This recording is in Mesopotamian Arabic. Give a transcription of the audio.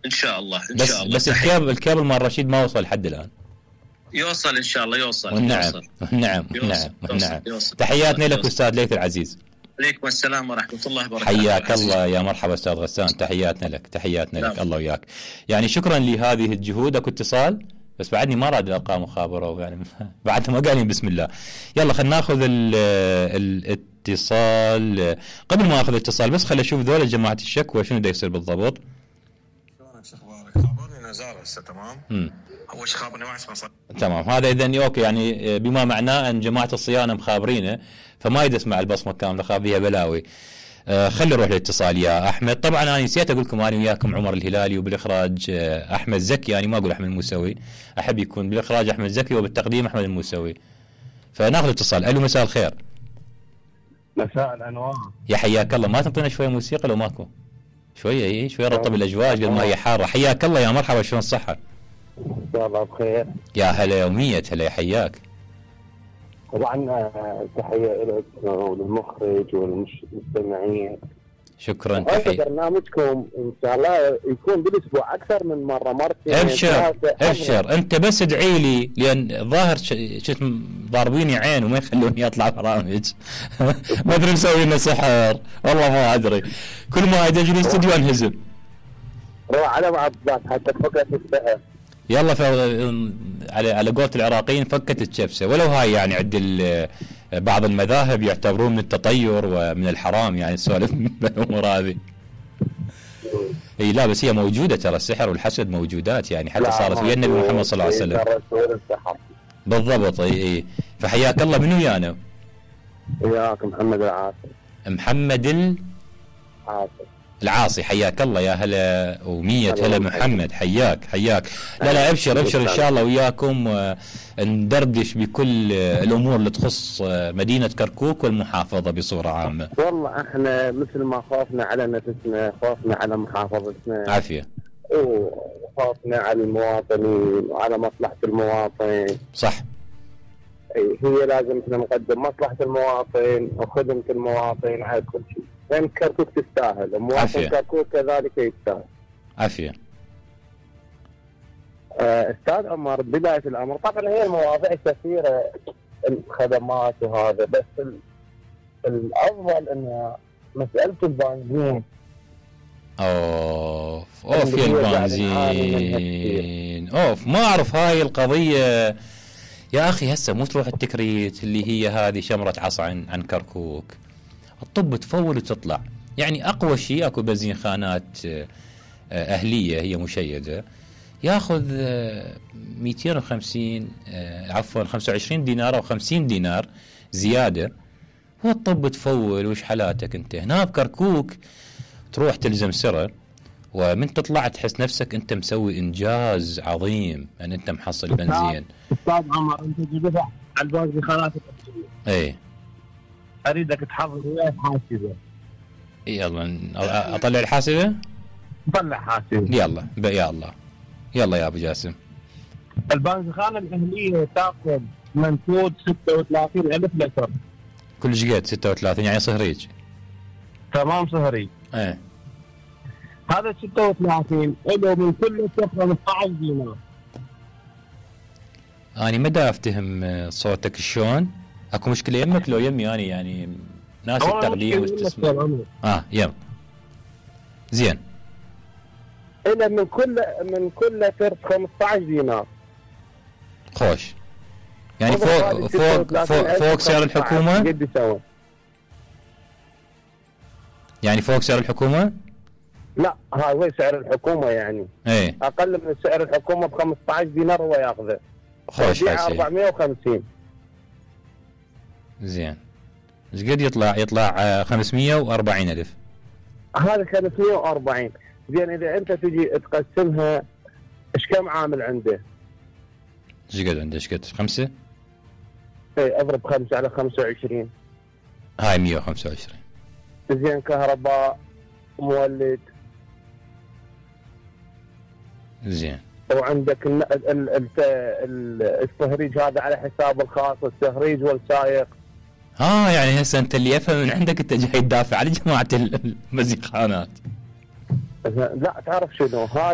ان شاء الله بس الكابل مال رشيد ما وصل لحد الان. يوصل ان شاء الله، يوصل. نعم. تحياتنا لك استاذ ليث العزيز. عليكم السلام ورحمه الله وبركاته. حياك الله، يا مرحبا استاذ غسان، تحياتنا لك الله وياك. يعني شكرا لهذه الجهود. اكو اتصال بس بعدني ما راد الارقام مخابره يعني بعد ما قالين بسم الله. يلا خلينا ناخذ الاتصال. قبل ما اخذ الاتصال بس خلي اشوف ذول جماعه الشكوى شنو دا يصير بالضبط. شلونك شو اخبارك؟ خبرني نزار هسه تمام. اول شيء خابرني ما اسمه تمام. هذا اذا اوكي، يعني بما معناه ان جماعه الصيانه مخابرينه فما يدس مع البصمه كامله، خاب فيها بلاوي. خلي نروح للاتصال يا احمد. طبعا انا نسيت اقول لكم انا وياكم عمر الهلالي، وبالاخراج احمد زكي. يعني ما اقول احمد الموسوي، احب يكون بالاخراج احمد زكي وبالتقديم احمد الموسوي. فناخذ اتصال. الو مساء الخير. مساء الانوار. يا حياك الله. ما تنطينا شويه موسيقى لو ماكو؟ شويه شويه رطب الاجواء قبل ما هي حاره. حياك الله، يا مرحبا، شلون الصحه؟ ان شاء الله بخير. يا هلا يوميه. هلا حياك. طبعا تحيه لك وللمخرج والمستمعين. شكرا. تحيه. برنامجكم ان شاء الله يكون بالاسبوع اكثر من مره، مرتين. ابشر انت بس ادعي لي، لان ظاهر شفت ضاربيني عين وما يخلوني اطلع برامج. ما ادري مسوي لنا سحر والله ما ادري. كل ما اجي الاستوديو انهزم. روح على بعض حتى فكت السحر. يلا على قولة العراقيين فكت الشبسه. ولو هاي يعني عند بعض المذاهب يعتبرون من التطير ومن الحرام، يعني السوالف بالامور هذه. اي لا بس هي موجوده ترى، السحر والحسد موجودات يعني، حتى صارت ويا النبي محمد صلى الله عليه وسلم. بالضبط. اي فحياك الله. من ويانا؟ وياك محمد العاصي. محمد العاصي. حياك الله، يا هلا ومية هلا محمد. حياك. لا ابشر ان شاء الله وياكم ندردش بكل الامور اللي تخص مدينة كركوك والمحافظة بصورة عامة. والله احنا مثل ما خافنا على نفسنا، خافنا على محافظتنا. عافية. وخافنا على المواطنين وعلى مصلحة المواطن. صح. هي لازم احنا نقدم مصلحة المواطن وخدمة المواطن على كل شيء. لأن كركوك تستاهل، مواطن كركوك كذلك يستاهل. عافية. استاذ عمر، بداية الامر طبعا هي المواضيع كثيرة، الخدمات وهذا، بس الافضل ان مسألة البنزين. اوف يا البنزين. ما اعرف هاي القضية يا اخي. هسه مو تروح التكريت اللي هي هذه شمرة عصا عن كركوك، الطب تفول وتطلع. يعني اقوى شيء اكو بنزين خانات اهلية هي مشيدة، ياخذ 250 عفوا 25 دينار او 50 دينار زيادة، والطب تفول. وش حالاتك انت هنا بكركوك؟ تروح تلزم سرة، ومن تطلع تحس نفسك انت مسوي انجاز عظيم ان انت محصل بنزين. استاذ عمر، انت تدفع على البنزين خانات اي اريدك تحضر وياي حاسبه. يلا اطلع الحاسبه. طلع حاسبه يلا يا الله. يلا يا ابو جاسم. البنزخانه الاهليه تاخذ منفوذ 36,000 لتر. كل شقد 36 يعني صهريج. تمام صهريج. ايه هذا 36 له من كل لتر 15 دينار. اني ما دا افتهم صوتك شلون. اكو مشكله يمك لو يمي اني يعني ناس التقديم واستسماع. يلا زين. إلى من كل لتر 15 دينار. خوش. يعني فوق سعر الحكومة. قد يسوي؟ يعني فوق سعر الحكومة؟ لا هو سعر الحكومة يعني. ايه اقل من سعر الحكومة ب 15 دينار هو ياخذه. خوش. 450. زين. ايش قد يطلع 540,000. هذا 540. زين اذا انت تجي تقسمها ايش كم عامل عنده؟ ايش قد عنده؟ ايش قد 5؟ اي اضرب 5 على 25. هاي 125. زين كهرباء مولد. زين. وعندك التهريج هذا على حساب الخاص، التهريج والسائق. يعني هسه انت اللي افهم من عندك انت جاي تدافع على جماعة المزيخانات. لا تعرف شنو هذا